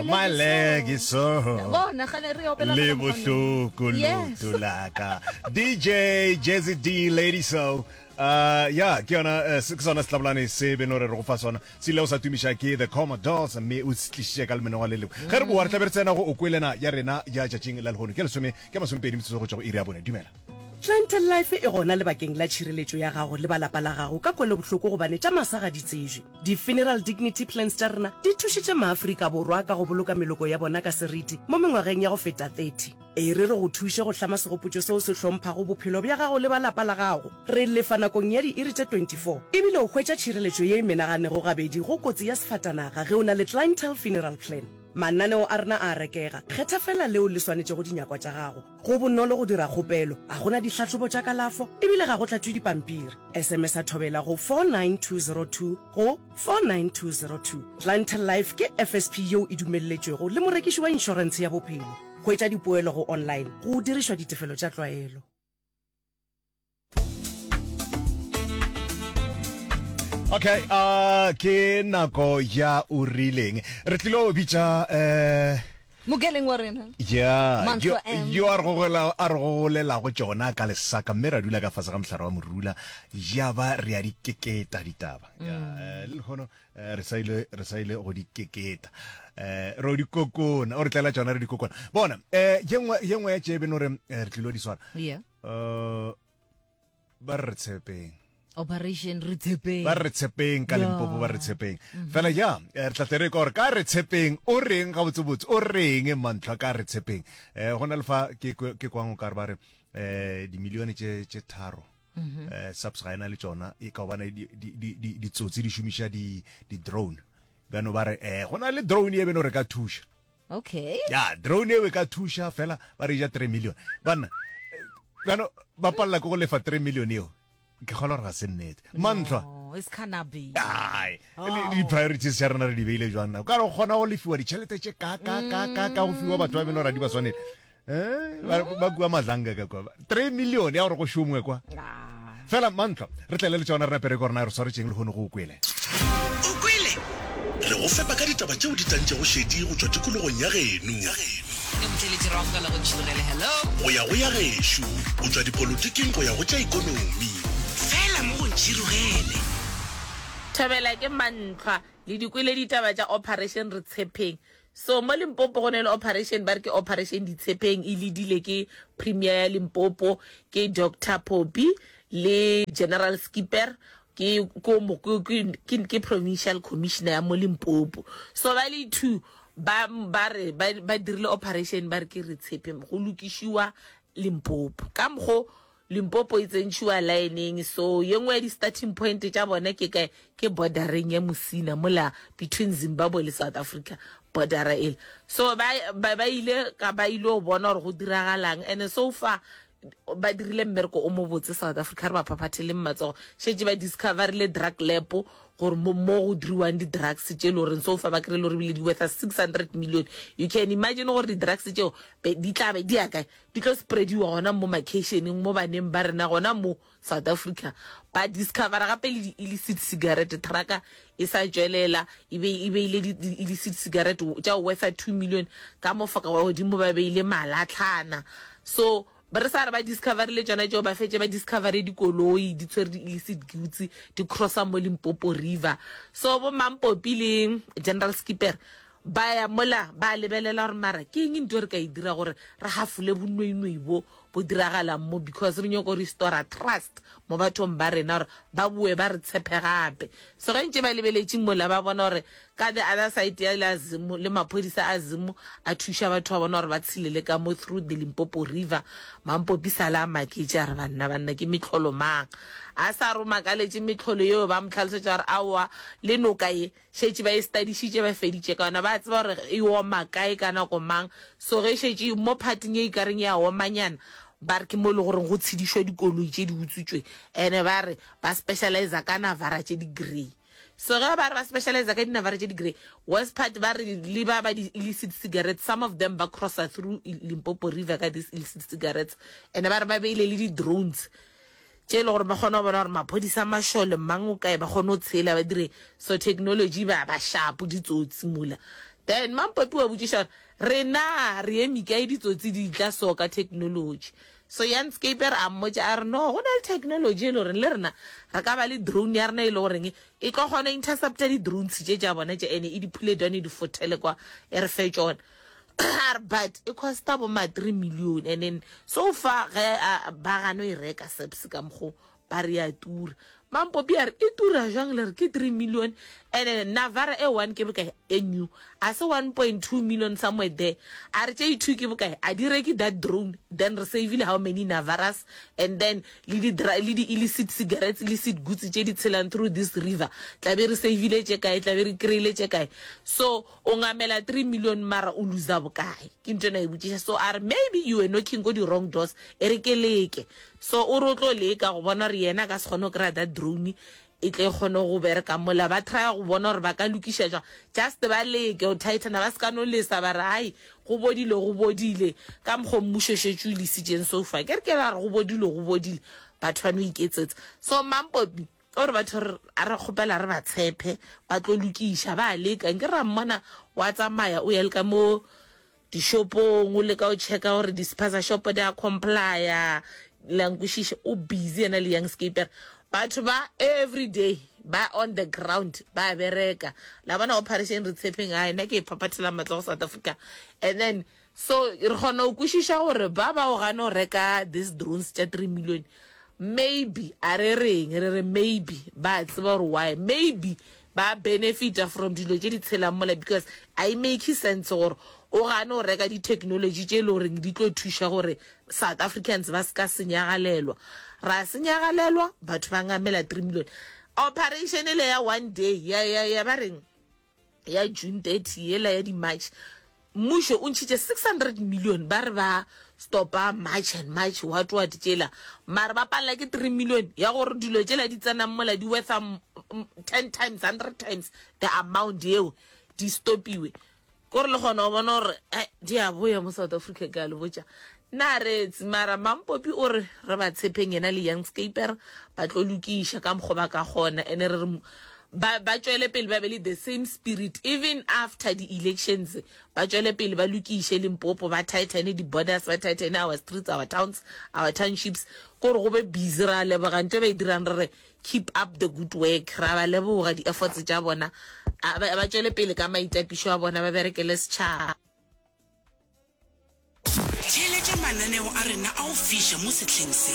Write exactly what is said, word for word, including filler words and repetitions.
My leg is sore. Bona gale re opela Le ka mokgwa bohloko Yes. leoto la ka. D J Jazzy D, Lady So. Uh, ya ke yona eh, se- ke sona setlabolane se beno re re go fa sona se ile o sa tumiša ke The Commodores, mme o se tlišitše ka lemenong le lengwe. Ge re boa, re tla be re tsena go O Kwelena ya rena ya tšatšing la lehono. Ke lesome ke masomepedi metsotso go tšwa go iri ya bone. Dumela. Clientele Life e gona lebakeng la tšhireletšo ya gago le ba lapa la gago ka kwelobohloko, gobane tša masa ga di tsejwe. Di-funeral dignity plans tša rena di thušitše Maafrika Borwa ka go boloka meloko ya bona ka seriti mo mengwageng ya go feta thirty. E re re go thuše go hlama segopotšo seo se hlomphago bophelo bja gago le ba lapa la gago. Re lefa nakong ya diiri tše twenty-four, ebile o hwetša tšhireletšo ye e menaganego gabedi go kotsi ya sefatanaga ge o na le Clientele Funeral Plan. Mananeo a rena a rekega, kgetha fela leo le swanetšego dinyakwa tša gago. Go bonolo go dira kgopelo, a gona ditlhahlobo tša kalafo, ebile ga go tlatšwe dipampiri. S M S a Thobela go four nine two zero two go four nine two zero two. Clientele Life ke F S P yeo e dumelletšwego le morekiši wa inšorentshe ya bophelo. Hwetša dipoelo go online go dirišwa ditefelo tša tlwaelo. Okay, uh, ke nako ya o rileng re tlilo bitša eh Mokeleng wa rena. Ya. Mantlwa yo M. Yo a re gogola a re gogolelago tšona ka lesaka, mme ra dula ka fase ga mohlare wa morula, ya ba re a di keketa ditaba ya. eh, le lehono eh, re sa ile re sa ile go di keketa, eh ro di kokona, o re tlela tšona re di kokona. Bona, eh ye nngwe ye nngwe ya tše beno re eh, re tlilo di swara, yeah eh ba re re tshepeng. Operation Re Tshepeng. Ba re tshepeng ka Limpopo, ba re tshepeng fela. Ya, eh, re tla tle re ka gore ka re tshepeng o reng gabotsebotse, o reng mantlhwa ka re tshepeng. um go na le fa ke kwe- ke kwang o ka re ba re um dimilione tše tše tharo um SAPS ga ena le tšona, e ka gobane di- di- di- di- ditsotsi di šomiša di- di-drone. Bjano ba re um go na le drone e beno re ka thuša. Okay ya, drone eo e ka thuša fela, ba re ja three million. Banna, eh, bjano ba palela ke go lefa three million eo. Ke kgolwa gore ga se nnete, Mantlhwa. No, it's cannot be. Ai, le di-priorities tša rena re di beile jwang na? Ka re kgona go lefiwa ditšhelete tše ka ka ka ka ka go fiwa batho ba beno ra di ba swanele. Eh, ba ba kua Madlanga ka kwa three million ya gore go šongwe kwa. Ah. Fela Mantlhwa, re tlele le tšona re napere ke gore na re swaretšeng le kgone go o kwele. O Kwele Re go fepa ka ditaba tšeo di tantšego šedi go tšwa tikologong ya geno Ke motheletši ra amogela go Ntšhirogele. Hello. Go ya go ya gešo, go tšwa dipolotiking go ya go tša ikonomi. Fela mo go Ntšhirogele. Thobela, ke Mantlhwa. Le di kwele ditaba tša Operation Re Tshepeng. So mo Limpopo go ne le operation ba re ke Operation Ditshepeng, e leadile ke Premier ya Limpopo, ke Doctor Poppy, le General Skipper, ke ko mo ke ke ke provincial commissioner ya mo Limpopo. So ba le two ba ba re ba ba dirile operation ba re ke Re Tshepeng, go lokišiwa Limpopo ka mokgo Limpopo e tsentšhiwa lineng. So ye nngwe ya di-starting point tša bona ke kae? Ke bordereng ya Musina mola between Zimbabwe le South Africa, bordera ele. So ba ba ba ile ka ba ile go bona gore go diragalang, and so far ba dirile mmereko o mobotse. South Africa re ba phaphatheleng matsogo. Šetše ba discoverile drug lab, gore mo mo go diriwang di-drugs tše le goreng so far ba kry-e le gore ebile di wortha six hundred million. You can imagine gore di-drugs tšeo be di tla be di ya kae, di tlo spreadiwa gona mo makeišeneng, mo baneng ba rena gona mo South Africa. Ba discovera gape le di-illicit cigarette, trucka e sa tšwelela e be e beile di-illicit cigarette tša wortha two million ka mo foka godimo, ba beile malatlhana. So ba re sa re ba discoverile tšona tšeo, ba fetše ba discovere dikoloi di tshwere di-illicit goods di crossa mo Limpopo River. So bo Mampopi le General Skipper ba ya mola, ba lebelela gore mara ke eng ntho re ka e dira gore re hafole bonweenwee bo bo diragalang mo, because re nyako restora trust mo bathong ba rena gore ba boe ba re tshepe gape. So ge ntse ba lebeletše mola, ba bona gore ka the other side ya la Zimu le maphodisa a Zimu a thuša batho ba bona gore ba tshelele ka mo through the Limpopo River. Mampopi sala a maketše, a re, "Banna, banna, ke metlholo mang?" A sa re o makaletše metlholo yeo, ba mo tlhalosetša gore aowa, le noka ye šetše ba e studišitše, ba feditše ka yona, ba tseba gore e oma kae ka nako mang. So ge šetše mo parting ye e kareng ya omanyana, ba re ke mo e le goreng go tshedišwa dikoloi tše di utswitswe, ene ba re ba specializa ka Navara tše di grey. So ge ba re ba specializa ka dinavara tše di grey, worst part, ba re le ba ba di-illicit cigarettes, some of them ba crossa through Limpopo River ka these illicit cigarettes. And ba re ba beile le di-drones tše e le gore ba kgone go bona gore maphodisa, mašole, mang o kae, ba kgone go tshela ba dire. So technology ba ba sharp, ditsotsi mola Then Mampopi wa botšiša gore rena re eme kae ditsotsi di tla so ka technology. So Jan Skeeper a mmotša a re no, go na le technology e le goreng le rena re ka ba le drone ya rena e le goreng e tlo kgona intercepta di-drones tše tša bona tše ene e di phule down e di fothele kwa e re fe tšona. A re but e costa bo ma three million and then so far ge ba gano e reka SAPS ka mokgo ba re ya tura. Mampopi a re e tura jwang le re ke three million and then Navara e one ke bokae e new a se one point two million somewhere there a re tše two ke bokae a di reke that drone then re savile how many Navaras and then le di le di illicit cigarettes illicit goods tše di tshelang through this river tla be re savile tše kae tla be re kry-ile tše kae so o ngamela three million mara o loser bokae ke ntho ena e botšiša so a re maybe you were knocking ko di wrong doors e re ke leke so o re o tlo leka go bona gore yena a ka se kgone go kry-a that drone e tle e kgone go bereka mola ba try go bona gore ba ka lokiša jwang just ba leke go tightena ba se ka no lesa ba re ai go bodile go bodile ka mokgwa mmušo šetše o lesitšeng so far ke re ke ra re go bodile go bodile batho ba no iketsetsa so Mampopi o re batho a re kgopela re ba tshepe ba tlo lokiša ba leka nke ra mmona wa tsamaya o ya le ka mo dishopong o leka o checka gore di-spaza shop di a complya la nkwešiša o busy yena le Young Scaper batho ba every day ba on the ground ba bereka la bona operation re tshepeng a nna ke e phaphathela matsogo South Africa and then so re kgona go kwešiša gore ba ba o gane go reka these drones tša three million maybe a re reng re re maybe ba tseba gore why maybe ba benefita from dilo tše di tshelang mola because a e make sense gore o gane go reka di-technology tše e le goreng di tlo thuša gore South Africans ba se ka senyagalelwa ra senyagalelwa batho ba ngamela three million operation ele ya one day ya ya ya ba reng ya June thirty yela ya di-march mmušo o ntšhitše six hundred million ba re ba stopa march and march what what tšela mare ba palela ke three million ya gore dilo tšela di tsenang mola di wortha ten times hundred times the amount yeo di stopiwe kore le kgona go bona gore di a boya mo South Africa ke a le botša nna retse mara Mampopi o re re ba tshepeng yena le Young Scaper ba tlo lokiša ka mokgwa ba ka kgona ene re re ba ba tšwele pele ba be le the same spirit even after the elections ba tšwele pele ba lokiše Limpopo ba tightene di-borders ba tightene our streets our towns our townships kore go be busy ra leboga ntho e ba e dirang re re keep up the good work ra ba leboga di-efforts tša bona ba tšwele pele ka maitapišo a bona ba berekele setšhaba. Theeletša mananeo a rena a go fiša mo sehleng se.